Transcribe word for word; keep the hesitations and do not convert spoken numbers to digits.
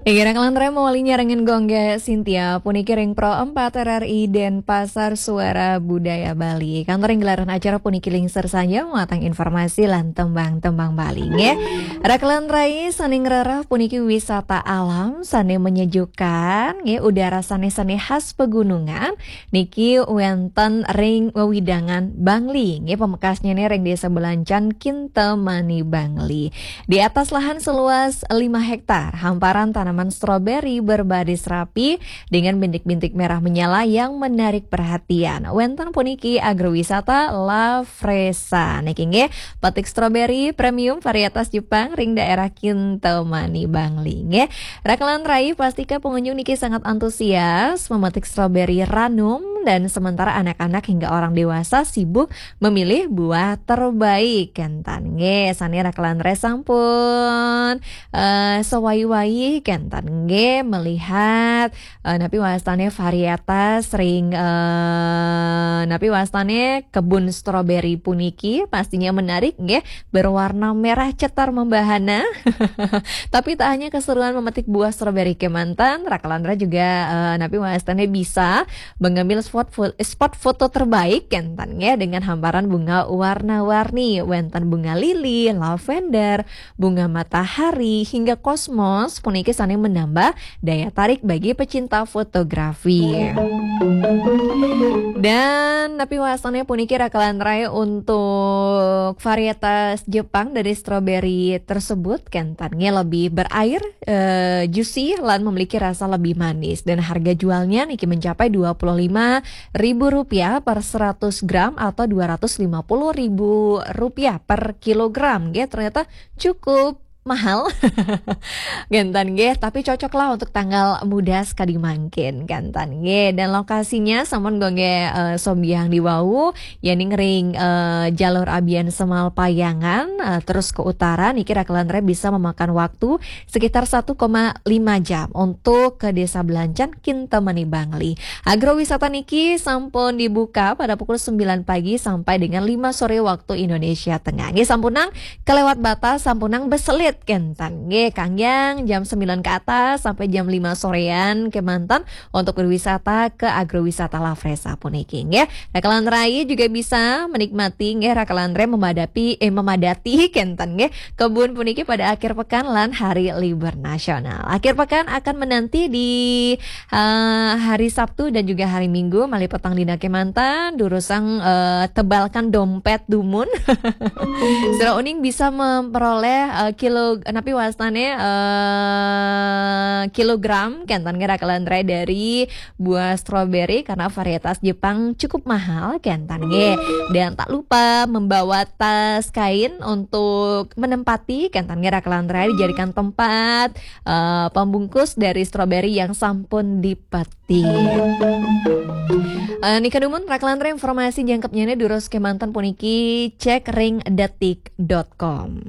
Inggih, rakan lantaran mawali nyarengin Gongga Sintia, puniki ring Pro empat R R I Denpasar, Suara Budaya Bali. Kantor ring gelaran acara puniki lingsir saja matang informasi lan tembang-tembang Bali, nggih. Rakan lantaran sane ngrereh puniki wisata alam sane menyejukkan, nggih, udara sane sane khas pegunungan, niki wenten ring wewidangan Bangli, nggih, pamekasnyane ring Desa Belancan, Kintamani, Bangli. Di atas lahan seluas lima hektar, hamparan tanaman stroberi berbaris rapi dengan bintik-bintik merah menyala yang menarik perhatian. Wenten puniki agrowisata La Fresa. Niki nggih, petik stroberi premium varietas Jepang ring daerah Kintamani, Bangli, nggih. Rakan lantaran, pastika pengunjung niki sangat antusias memetik stroberi ranum, dan sementara anak-anak hingga orang dewasa sibuk memilih buah terbaik, kenten nggih. Sane rakan lantaran sampun, eh, sawai-wai, kenten nggih, melihat, eh, napi wastane varietas ring, eh, napi wastane kebun stroberi puniki, pastinya menarik nggih, berwarna merah cetar membahana. Tapi tak hanya keseruan memetik buah stroberi kemanten, rakan lantaran juga, eh, napi wastane bisa mengambil spot fo-, spot foto terbaik, kenten nggih, dengan hamparan bunga warna-warni, wenten bunga lili, lavender, bunga matahari, hingga kosmos, puniki sane menambah daya tarik bagi pecinta fotografi. Dan napi wastane puniki rakan lantaran untuk varietas Jepang dari stroberi tersebut, kenten nggih, lebih berair, eh, juicy, lan memiliki rasa lebih manis. Dan harga jualnya niki mencapai dua puluh lima ribu rupiah per seratus gram atau dua ratus lima puluh ribu rupiah per kilogram, nggih. Ternyata cukup mahal. Kenten nggih, tapi cocok lah untuk tanggal muda sekadi mangkin, kenten nggih. Dan lokasinya sampun Gongga, eh, sombiahang di wau, yening ring, eh, jalur Abiansemal Payangan, eh, terus ke utara, niki rakan lantaran bisa memakan waktu sekitar satu koma lima jam untuk ke Desa Belancan, Kintamani, Bangli. Agrowisata niki sampun dibuka pada pukul sembilan pagi sampai dengan lima sore waktu Indonesia Tengah. Nggih, sampunang kelewat batas, sampunang beselit, kenten nggih, kanggiang jam sembilan ke atas sampai jam lima sorean kemanten untuk berwisata ke agrowisata La Fresa puniki nggih. Rakan lantaran juga bisa menikmati nggih, rakan lantaran memadapi, eh, memadati, kenten nggih, kebun puniki pada akhir pekan lan hari libur nasional. Akhir pekan akan menanti di, eh, hari Sabtu dan juga hari Minggu, malih petang dina kemanten, durusang, eh, tebalkan dompet dumun. Sira uning bisa memperoleh, eh, kilo, napi wastane, eh, kilogram, kenten nggih, rakan lantaran, dari buah stroberi karena varietas Jepang cukup mahal, kenten nggih. Dan tak lupa membawa tas kain untuk menempati, kenten nggih, rakan lantaran, dijadikan tempat, eh, pembungkus dari stroberi yang sampun dipetik. Eh, nika dumun rakan lantaran, informasi jangkepnyane durus kemanten puniki, cek ring detik dot com.